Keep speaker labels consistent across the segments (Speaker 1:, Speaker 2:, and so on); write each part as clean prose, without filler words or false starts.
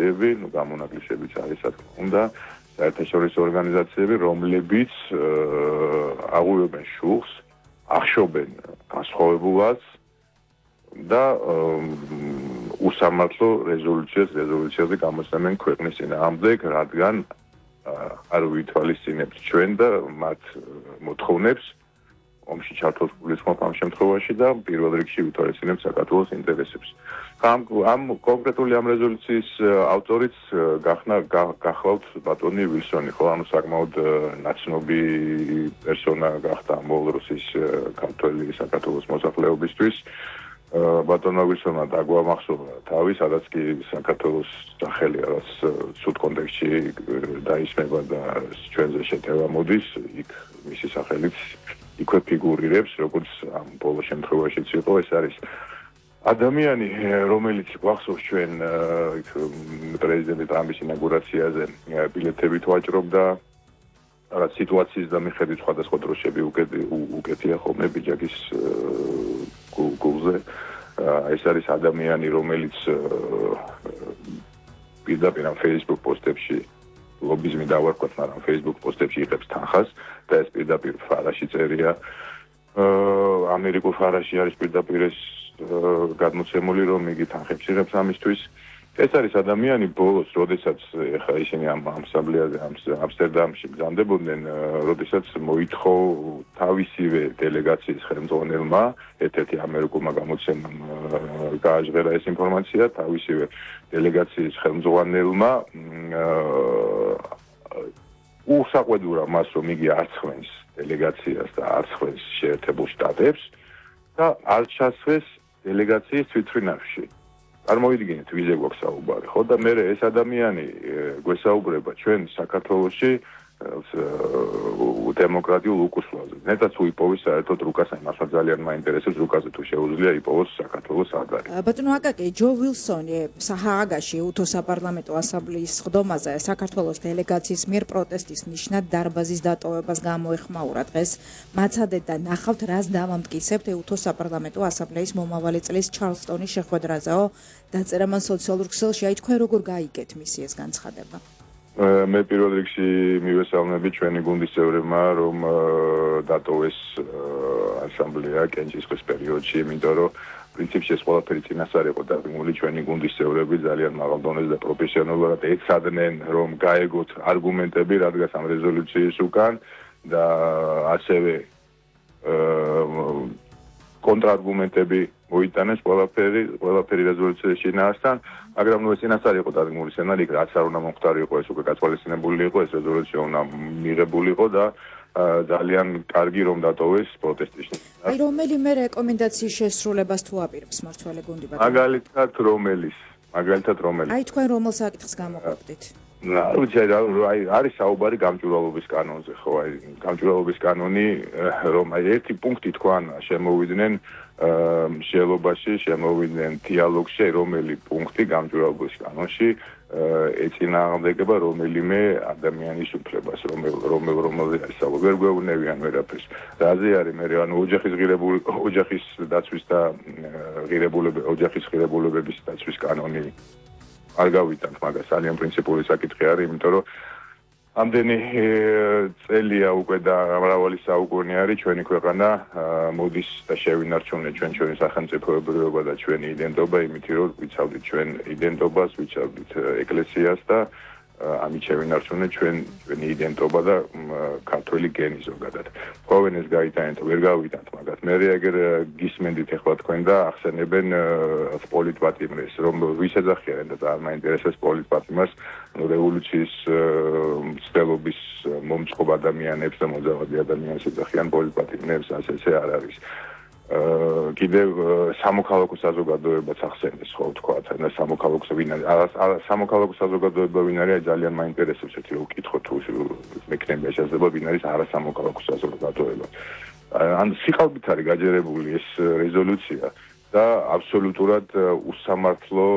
Speaker 1: ორგანიზაციები, გამონაკლისებიც არის რა თქმა უნდა, საერთაშორისო ორგანიზაციები, რომლებიც აღუევენ შუხს, ახშობენ განსხვავებულას და უსამართლო რეზოლუციაზე გამოსცემენ ქვეყნის წინააღმდეგ, რადგან არ ვითვალისწინებთ ჩვენ და მათ მოთხოვნებს ომში ჩართოს გულისხმობ ამ შემთხვევაში და პირველ რიგში ვითვალისწინებთ საქართველოს ინტერესებს. ამ კონკრეტული ამ რეზოლუციის ავტორიც გახლავთ ბატონი ვილსონი, ხო, ანუ საკმაოდ ნაცნობი პერსონა გახდა ბოლო დროის ქართველი საქართველოს მოსახლეობისთვის. ბატონმა ვილსონმა დაგვამახსოვრა თავი, სადაც კი საქართველოს სახელი რაღაც სულ კონტექსტში დაისმება და ჩვენზე შეტევა მოდის, იქ მისი სახელიც იქვე ფიგურირებს, როგორც ამ ბოლო შემთხვევაშიც იყო, ეს არის ადამიანი, რომელიც გვახსოვს ჩვენ პრეზიდენტ ტრამპის ინაგურაციაზე ბილეთებით ვაჭრობდა, რაღაც სიტუაციის და მიხედვით სხვადასხვა დროშები უკეთია ხოლმე ბიჯაკის გულზე. ეს არის ადამიანი, რომელიც პირდაპირ ამ Facebook პოსტებში ლობიზმი დავარქვათ, მაგრამ Facebook პოსტებში იღებს თანხას და ეს პირდაპირ ფარაში წერია. ამერიკულ ფარაში არის პირდაპირ ეს გადმოცემული, რომ იგი თანხებს იღებს ამისთვის. ეს არის ადამიანი ბოლოს, როდესაც ეხლა ისინი ამ ასამბლეაზე ამსტერდამში გზანდებოდნენ, როდესაც მოითხოვ თავისივე დელეგაციის ხელმძღვანელმა, ერთ-ერთი ამერიკულმა გამოცემამ გააჟღერა ეს ინფორმაცია, თავისივე დელეგაციის ხელმძღვანელმა უსაყვედურა მას, რომ იგი არ ცხვენს დელეგაციას და არ ცხვენს შეერთებულ შტატებს და არ ჩასვეს დელეგაციის თვითმფრინავში. წარმოიდგინეთ, ვიზე გვაქვს საუბარი, ხო? და მე ეს ადამიანი გვესაუბრება ჩვენ საქართველოში დემოკრატიულ უკუსლაზე. ნეტაც უიპოვის საერთოდ რუკას, იმას ძალიან მაინტერესებს რუკაზე თუ შეუძლია იპოვოს საქართველოს აღარი.
Speaker 2: ბატონო აკაკი, ჯო ვილსონი საჰააგაში უთო საპარლამენტო ასამბლეის სხდომაზე საქართველოს დელეგაციის მიერ პროტესტის ნიშნად დარბაზის დატოვებას გამოეხმაურა დღეს. მაცადეთ და ნახავთ, რას დავამტკიცებთ უთო საპარლამენტო ასამბლეის მომავალი წლის ჩარლსტონის შეხვედრაზეო. დაწერა მან სოციალურ ქსელში, აი თქვენ როგორ გაიგეთ მისი ეს განცხადება?
Speaker 1: მე პირველ რიგში მივესალმები ჩვენი გუნდის წევრებმა, რომ დატოვეს ასამბლეა კენჭისყრის პერიოდში, იმიტომ რომ პრინციპში ეს ყველაფერი წინასწარ იყო დაგმული, ჩვენი გუნდის წევრები ძალიან მაღალ დონეზე და პროფესიონალურად ეცადნენ, რომ გაეგოთ არგუმენტები, რადგან ამ რეზოლუციის უკან და ასევე კონტრარგუმენტები მოიტანეს ყველაფერი რეზოლუციის შინაარსთან, მაგრამ ეს წინასწარ იყო დადგმული სცენარი, რაც არ უნდა მომხდარიყო, ეს უკვე გათვალისწინებული იყო, ეს რეზოლუცია უნდა მიღებული იყო და ძალიან კარგი რომ დატოვეს პროტესტის.
Speaker 2: აი რომელიმე რეკომენდაციის შესრულებას თუ აპირებს მმართველი გუნდი ბატონო?
Speaker 1: მაგალითად რომელი?
Speaker 2: აი თქვენ რომელ საკითხს გამოყოფდით?
Speaker 1: არის საუბარი გამჭვირვალობის კანონზე, ხო, აი გამჭვირვალობის კანონი, რომ აი ერთი პუნქტი თქვან შემოვიდნენ მსჯელობაში, შემოვიდნენ დიალოგში, რომელი პუნქტი გამჭვირვალობის კანონში ეწინააღმდეგება რომელიმე ადამიანის უფლებას, რომელზე არის საუბარი, ვერ გვეუბნებიან ვერაფერს. რაზე არის მე ანუ ოჯახის დაცვის და ოჯახის ღირებულებების დაცვის კანონი არ გავიტანთ, მაგას ძალიან პრინციპული საკითხი არის, იმიტომ რომ ამდენი წელია უკვე და მრავალი საუკუნე არის ჩვენი ქვეყანა მოდის და შევინარჩუნეთ ჩვენი სახელმწიფოებრიობა და ჩვენი იდენტობა, იმით რომ ვიცავდით ჩვენ იდენტობას, ვიცავდით ეკლესიას და ამით შევინარჩუნეთ ჩვენი იდენტობა და ქართველი გენი ზოგადად. ყოველ ეს გაიტანეთ, ვერ გავიტანთ მაგას. მე ეგერ გისმენდით ახლა თქვენ და ახსენებენ პოლიტპატიმრეს, რომ ვის ეძახიან და ძალიან მაინტერესებს პოლიტპატიმრას, რევოლუციის მცდელობის მომწყობ ადამიანებს და მოძავადი ადამიანებს ეძახიან პოლიტპატიმრებს, ასე არ არის. კიდევ სამოქალაქო საზოგადოებაც ახსენეს, ხო თქვათ, და სამოქალაქო ვინ არის? სამოქალაქო საზოგადოება ვინ არის? ძალიან მაინტერესებს ერთი რომ ვკითხო თუ მექნებია შესაძლებლობა ვინ არის არასამოქალაქო საზოგადოება. ან სიყალბით არის გაჯერებული ეს რეზოლუცია და აბსოლუტურად უსამართლო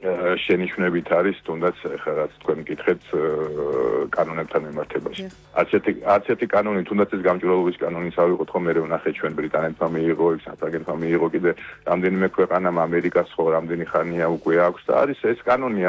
Speaker 1: შენიშვნებით არის, თუნდაც ახლა რაც თქვენ მკითხეთ კანონებთან მიმართებაში. არც ერთი კანონი, თუნდაც ეს გამჭვირვალობის კანონის ავიღოთ ხო, მე ვნახე ჩვენ ბრიტანეთმა მიიღო, საფრანგეთმა მიიღო, კიდე რამდენიმე ქვეყანამ ამერიკას ხო რამდენი ხანია უკვე აქვს და არის ეს კანონი